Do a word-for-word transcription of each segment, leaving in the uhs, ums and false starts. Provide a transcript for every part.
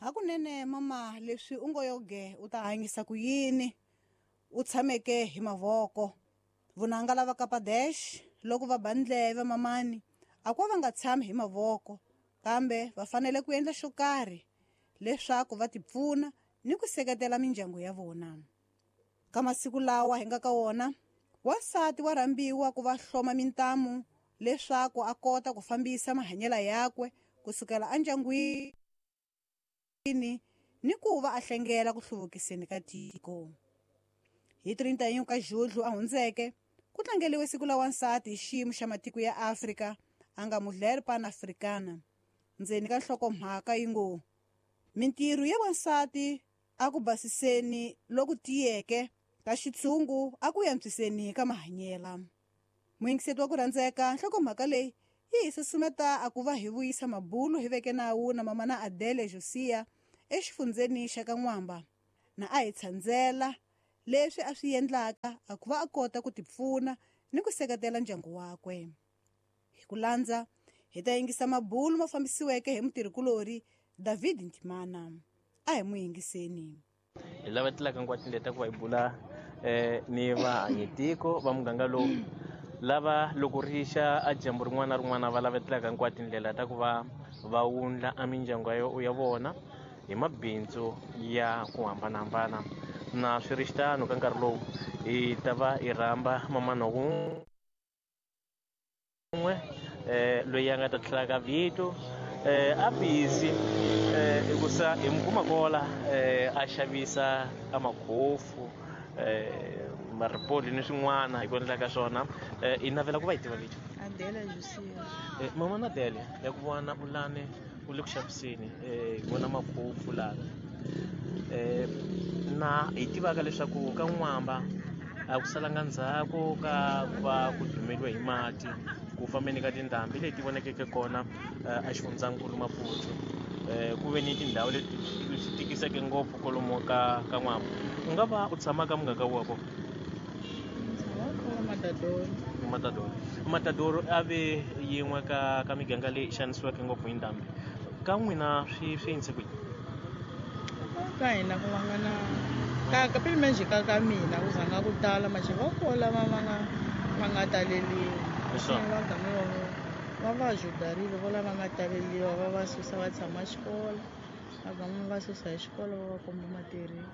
Hakunene mama leswi u ngo yoge u ta hanyisa ku yini u tshameke hi mavoko. Vunanga lava Kapadesh loko va ba ndleve mamani a ko va nga tshami hi mavoko kambe va fanele ku endla xo karhi leswaku va tipfuna ni ku seketela mindyangu ya vona. Ka masiku lawa hi nga ka wona wansati wa rhambiwa ku va hloma mintamu leswaku a kota ku fambisa mahanyelo yakwe kusukela endyangwini ni ku va a hlengela ku hluvukiseni ka tiko. Hi trintayin'we ka Judlu a hundzeke ku tlangeliwe siku la wansati hi xiyimo xa matiko ya Afrika a nga Mulher Pan-Africana. Ndzeni ka nhlokomhaka yi ngo mintirho ya wansati a ku basiseni loku tiyeke ka xitshungu a ku antswiseni ka mahanyelo. Muyingiseti wa ku rhandzeka nhlokomhaka leyi yi hi susumeta a ku va hi vuyisa mabulu hi veke nawu na mama na Adele Josia exifundzeni xa ka N'wamba na a hi tshandzela leswi a swi endlaka a ku va a kota ku tipfuna ni ku seketela ndyangu wakwe. Hi ku landza hi ta yingisa mabulu ma fambisiweke hi mutirhikulori David Ntimana. A hi n'wi yingiseni. Hi lava tlelaka hinkwato leta ku va hi bula eh ni vahanyitiko va muganga lowu lava loko ri xa a dyambu rin'wana na rin'wana va lavetelaka hinkwato tindlela ta ku va va wundla a mindyangu ya vona hi mabindzu ya ku hambanahambana. Na swi ri xitano ka nkarhi lowu hi ta va hi rhamba mamana wun'we eh loyi a nga ta tlhela ka vito eh a busy eh hikusa hi mu kuma kola eh a xavisa a makhofu eh maripoli ni swin'wana hi ku endla ka swona. Eh i navela ku va hi tiva vito Adele Josia. Eh mama na Adele ya ku vona ulane u le ku xaviseni eh hi vona makhofu lana eh na hi tivaka leswaku ka N'wamba a ku salanga ndzhaku ka ku va ku dumeliwe hi mati ku fambeni ka tindhambi leti vonakeke kona a xifundzankulu Maputo. Eh ku ve ni tindhawu leti swi tikiseke ngopfu kwalomu ka ka N'wamba. U nga va u tshama ka muganga wa kona? Matadoro. Matadoro. Matadoro a ve yin'we ka ka miganga leyi xanisiweke ngopfu hi ndhambi. Ka n'wina swi swi endlise ku yini? Ka hina ku va nga na ka ka pele ka ka mina ku zanga ku tala maxe va kola va va nga va nga taleliwa. Va gama va va va ajudarile vo lava nga taleliwa va va susa va tshama xikolo va gama va susa hi xikolo va va komba matirhelo.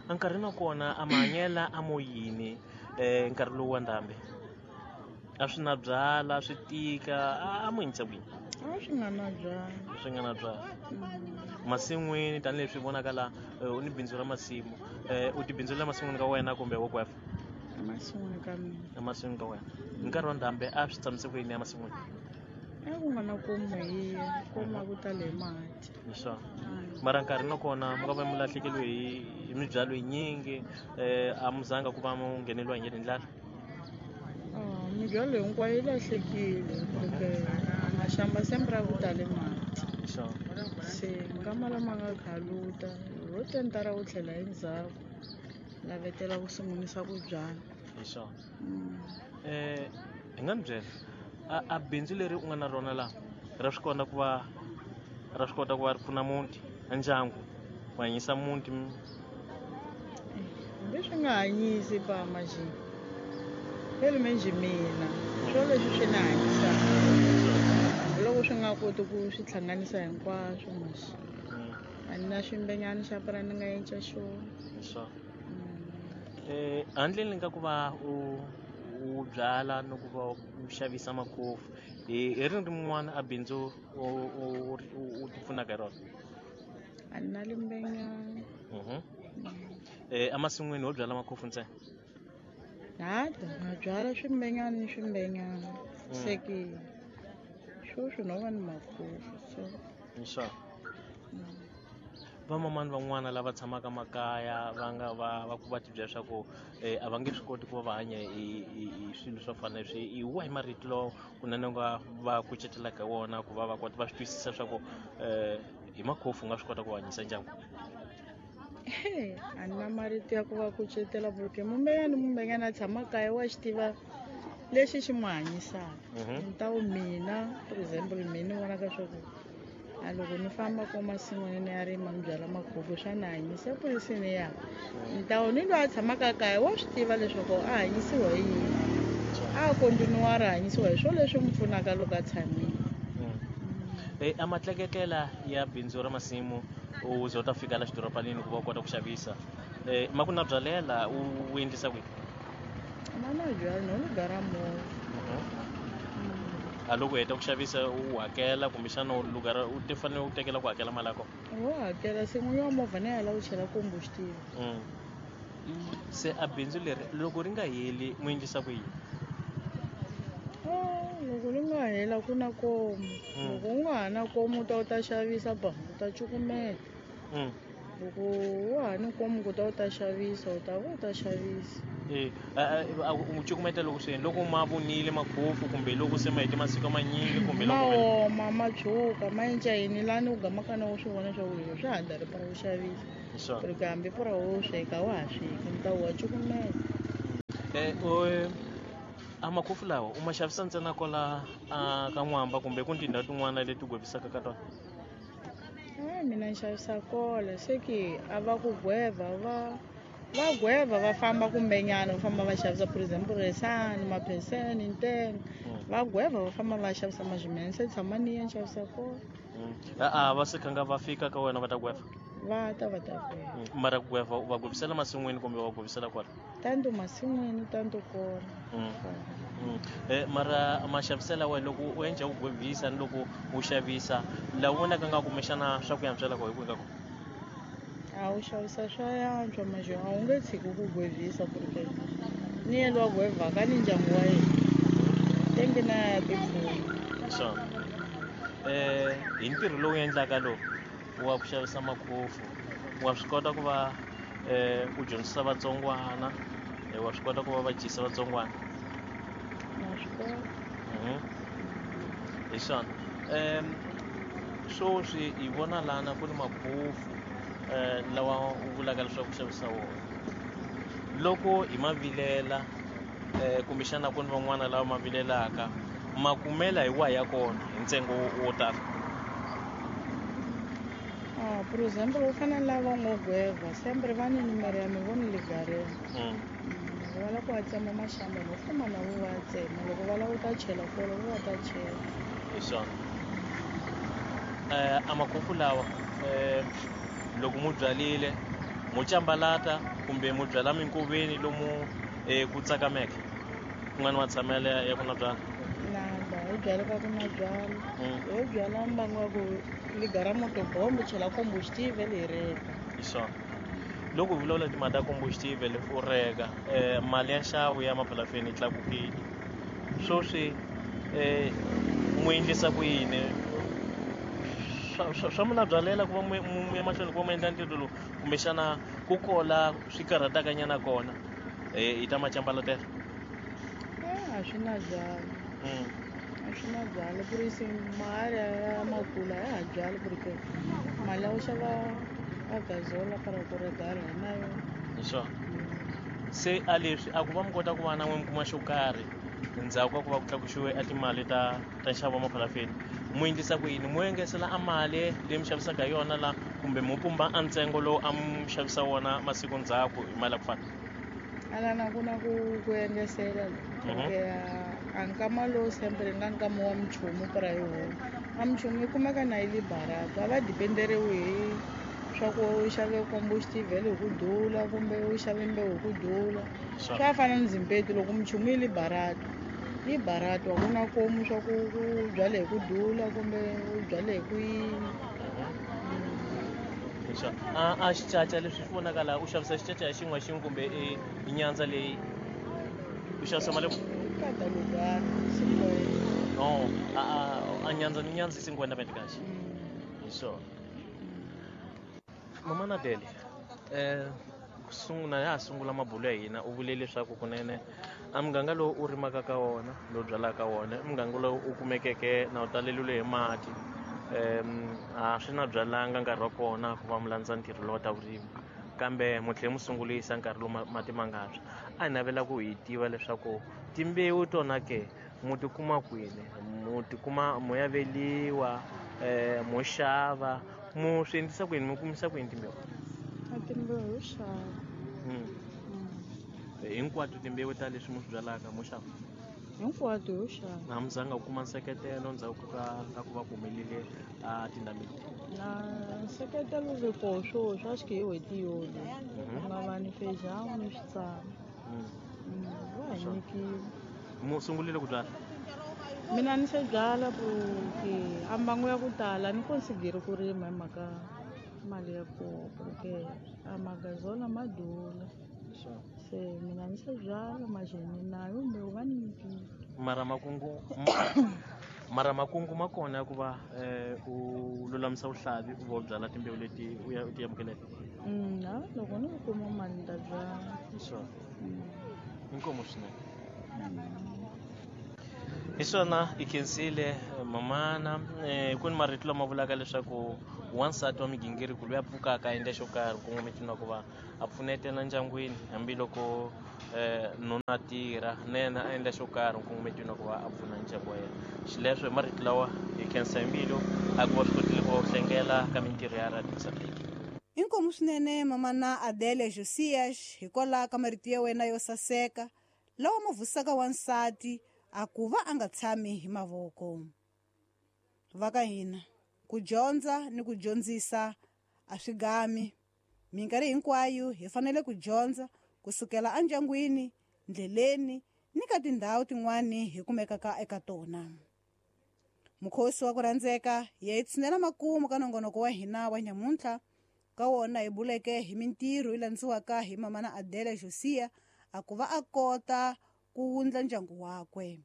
Nkarhi na kona a mahanyela a mo yini eh nkarhi lowu wa ndhambi a swi na byala swi tika a mo yinisa ku yini? A swi nga na byala. Swi nga na byala. Masin'wini tanihileswi vonaka la u ni bindzu ra masimu eh u ti bindzulela masin'wini ka wena kumbe wo kwefa? Emasin'wini ka mina. Emasin'wini ka wena. Hi nkarhi wa ndhambi a swi tshamise ku yini emasin'wini? A ku nga na komu hi komu ku tale hi mati. Hi swona. Mara nkarhi na kona mi nga va mi lahlekeriwe hi hi mibyalo yinyingi eh a mi zanga ku va mu ngheneliwa hi ndlala? Ah mibyalo hinkwayo yi lahlekile porque maxamba sempre a ku tale mati. Hi swona. Se nkama lama nga khaluta ho tentara ku tlhela endzhaku lavetela ku sungulisa ku byala. Hi swona. Eh hi nga ni byela a a bindzu leri u nga na rona la ra swi kota ku va ra swi kota ku va ri pfuna muti ndyangu ku hanyisa muti? Hambi swi nga hanyisi pa maji phela menjhe mina swo leswi swi ni hanyisaka loko swi nga koti ku swi hlanganisa hinkwaswo maxi a ni na ximbenyana xa pura ni nga endla xona. Hi swona. Eh handleni ka ku va u u byala no ku va u xavisa makhofu hi hi rini rin'wana a bindzu u u u ti pfunaka hi rona? A ni na limbenyana. Mhm. Eh emasin'wini ho byala makhofu ntsena? Hata na byala swimbenyana ni swimbenyana se ke sweswi no va ni makhofu so. Hi swona. Vamamani van'wana lava tshamaka makaya va nga va va ku va ti byela leswaku eh a va nge swi koti ku va va hanya hi hi hi swilo swo fana na leswi hi wahi marito lawa kunene u nga va kucetelaka hi wona ku va va kota va swi twisisa leswaku eh hi makhofu u nga swi kota ku hanyisa ndyangu? A ni na marito ya ku va kucetela porque mumbenyana mumbenyana a tshama kaya wa xi tiva lexi xi n'wi hanyisaka. Ni ta ku mina for example mina ni vonaka swa ku A loko ni famba ko masin'wini ni ya rima ni byala makhufu swa ni hanyisa epolisini ya ntawu ni loyi a tshamaka kaya wa swi tiva leswaku a hanyisiwa hi yini a kontinuwara hanyisiwa hi swo leswi n'wi pfunaka loko a tshamile. E a matleketlela ya bindzu ra masimu u ze u ta fika la xidorobanini ku va u kota ku xavisa um ma ku na byalela u endlisa kwihi? Ma na byala no lu gara movha. A loko u heta ku xavisa u hakela kumbexana u lugara u ti fanele u tekela ku hakela mali ya kona? Wo hakela se n'winyi wa movha na yena u chela combustible. Se a bindzu leri loko ri nga heli mu endlisa ku yini? Loko ri nga hela ku na komu. Loko u nga ha na komu u ta u ta xavisa ba u ta cukumeta. Loko wa ha ni komu ku ta u ta xavisa u ta va u ta xavisa. E u cukumeta loko swi loko ma vunile makhofu kumbe loko se ma hete masiku manyingi kumbe loko ma oma ma tshuka ma enca yini lani u gamaka na u swi vona swa ku leswi swa ha dari para u xavisa. Ku ri hambi pura wo sweka wa ha sweki ni ta wa cukumeta. Eh a makhofu lawa u ma xavisa ntsena kwala ka N'wamba kumbe ku tindhawu tin'wana leti gwevisaka ka tona? A mina ni xavisa kola se ke a va ku gweva va va gweva va famba kumbenyana va famba va xavisa for example resani mapheseni ntengo va gweva va famba va xavisa mazimene se tshama ni ya ni xavisa kola. A va se khanga va fika ka wena va ta gweva? Va ta va ta gweva. Mara ku gweva va gwevisela masin'wini kumbe va gwevisela kwala? Tanto masin'wini tanto kona. Eh mara maxaviselo wa loko u endla u gwevisa ni loko u xavisa laha u vonaka nga kumbexana swa ku yantswela ko hi kwihi ka kona? A wu xavisa swa yantswa manje a wu nge tshiki ku gwevisa ku ri ke ni yena loyi a gwevaka ni ndyangu wa yena tenge na ya tipfuna. Swona eh hi ntirho lowu endlaka lowu wa ku xavisa makhofu wa swi kota ku va eh u dyondzisa vatsongwana wa swi kota ku va va dyisa vatsongwana? Na swi kota. Hi swona um sweswi hi vona lana ku ni makhofu um lawa u vulaka leswaku ku xavisa wona loko hi ma vilela um kumbexana ku ni van'wana lava ma vilelaka ma kumela hi wahi ya kona hi ntsengo wo tala? Ah, por exemplo, u fana na lava ngo gweva sempre va ni numero ya mi voni ligareni. Loko va lava ku va tsema maxamba no famba na vo va ya tsema loko va lava ku ta chela kona vo va ta chela. Hi swona um a makhofu lawa um loko mu byalile mu cambalata kumbe mu byala minkoveni lomu um ku tsakameke ku nga ni matshamelo ya ku na byala? Nada hi byala ka ku na byala ho byala mbangu wa ku ligara motobombo chela combustible hi reka. Hi swona loko hi vulavula timhaka ta combustible u reka um mali ya nxavo ya maphalafeni yi tlakukile sweswi um mu endlisa ku yini swa swa mi byalela ku va mu ya mahlweni ku va mu endla ntirho lowu kumbexana ku kola swi karhataka nyana kona hi ta macambalatela? A swi na byala a swi na byala ku ri se mali ya makula ya ha byali ku ri ke mali ya ku xava a gazola para ku regala hi na yona. Hi swona se a leswi a ku va mi kota ku va na n'we mi kuma xo karhi ndzhaku ka ku va ku tlakusiwe a timali ta ta nxavo wa maphalafeni mu endlisa ku yini mu engesela a mali leyi mi xavisaka hi yona la kumbe mu pumba a ntsengo lowu a mu xavisa wona masiku ndzhaku hi mali ya ku fana? Alana ku na ku ku engesela a nkama lowu sempre nga nkama wa minchumu para hi homu a minchumu yi kumeka na yi le barata a va dependeriwi hi swa ku u xave combustible hi ku dula kumbe u xave mbewu hi ku dula swa fana ni zimpetu loko minchumu yi le barata yi barata a ku na komu swa ku u byale hi ku dula kumbe u byale hi ku yini. A a xicaca leswi swi vonaka laha u xavisa xicaca hi xin'we xin'we kumbe i nyandza leyi u xavisa mali kada lugara cinquenta. No a a nyandza ni nyandza i cinquenta meticais. Hi swona mama Nadele eh sungula ya ha sungula mabulo ya hina u vule leswaku kunene a muganga lowu u rimaka ka wona lowu byalaka wona i muganga lowu u kumekeke na wu taleliwile hi mati um a swi na byalanga nkarhi wa kona ku va mi landza ntirho lowu ta vurimi kambe mu tlhela mu sungulisa nkarhi lowu mati ma nga tshwa a hi navela ku hi tiva leswaku timbewu tona ke mu ti kuma kwini mu ti kuma mu ya veliwa um mo xava mo swi endlisa ku yini mo kumisa ku yini timbewu? A timbewu ho xava. Hinkwato timbewu ta leswi mo swi byalaka mo xava? Hinkwato ho xava. Na mi zanga ku kuma nseketelo ndzhaku ka ka ku va ku humelele a tindhambi? Na nseketelo ri koho swo swa xi hi n'hweti yona ku nga va ni fejamu ni switsana va hi nyikile. Mu sungurile ku byala? Mina ni se byala ku ke a mbangu ya ku tala ni consideri ku rima hi mhaka mali ya koho ku ke a magazola ma dula. Se mina ni se byala majeni nayo mbewu va ni nyikile. Mara makungu mara makungu ma kona ya ku va u lulamisa vuhlavi u va u byala timbewu leti u ya u ti amukeleke? Ha loko ni kuma mali ni ta byala. Sure. Inkomu swinene. Hi swona i khensile mamana ku ni marito lama vulaka leswaku wansati wa migingiriko loyi a pfukaka a endla xo karhi kongometi na ku va a pfunetela ndyangwini hambiloko nuna a tirha na yena a endla xo karhi kongometi na ku va a pfuna ndyangu wa yena. Xileswo hi marito lawa hi khensa hi mbilu a ku va swi kotile ku va u hlengela ka mintirho ya Radio Mozambique. Inkomu swinene mamana Adele Josias hikwalaho ka marito ya wena yo saseka lawa ma vusaka wansati a ku va a nga tshami hi mavoko. Va ka hina ku dyondza ni ku dyondzisa a swi gami. Minkarhi hinkwayo hi fanele ku dyondza kusukela endyangwini, ndleleni ni ka tindhawu tin'wani hi kumekaka eka tona. Mukhosi wa ku rhandzeka ya hi tshinela makumu ka nongonoko wa hina wa nyamuntlha. Ka wona hi buleke hi mintirho yi landziwaka hi mamana Adele Josia a ku va a kota ku wundla ndyangu wakwe.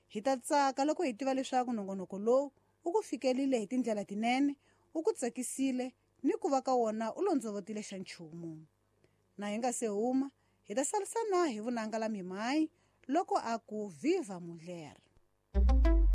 Hi ta tsaka loko hi tiva leswaku nongonoko lowu u ku fikelile hi tindlela tinene, u ku tsakisile ni ku va ka wona u londzovotile xa nchumu. Na hi nga se huma hi ta sarisana hi vunanga la mimayi loko a ku viva mulher.